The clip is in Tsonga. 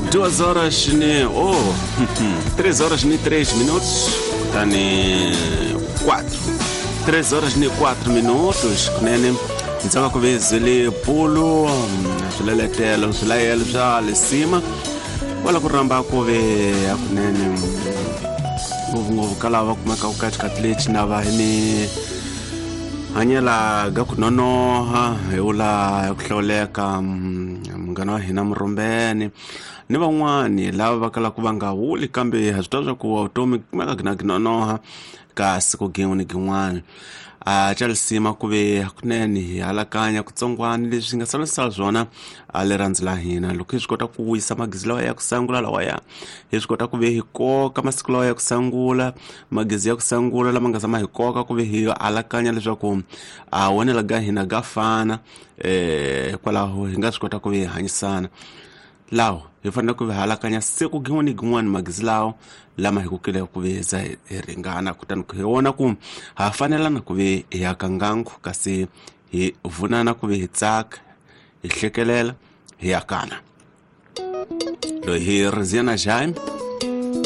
2 horas ni oh 3 horas ni 3 minutos, kutani 4 3 horas ni 4 minutos. Kunene ndzi ku vezele bulu swileletelo swilayelo swa lisima wala ku rhamba ku ve hakunene ngopfungopfu ka lava va kumekaka ka xikati lexi na va hi mi hanyela ga ku nonoha hi wula hi ku hlawuleka munghana wa hina Murhumbeni ni van'wani lava va kalaka va nga wuli, kambe ha swi tiva swa ku vutomi kumeka gina gi nonoha ka siku gin'we ni gin'wana. A xa lisima ku ve hakunene hi halakanya kutsongwana leswi nga salasala swona a rirhandzu la hina. Loko hi swi kota ku wisa magizi lawa ya ku sangula lawaya, hi swi kota ku ve hi koka masiku lawa ya ku sangula, magizi ya ku sangula lama nga zama hi koka ku ve hi alakanya leswaku a wonela ga hina ga fana, hikwalaho hi nga swi kota ku ve hi hanyisana. Lawo hi fanele ku halakanya siku gin'we ni gin'wana magizi lawo lama hi kukile ku ve za hi ringana, kutani hi vona ku ha fanelana ku ve hi aka ngangu, kasi hi vunana ku ve hi tsaka, hi hlekelela, hi akana. Loyi hi Riziana Jaime.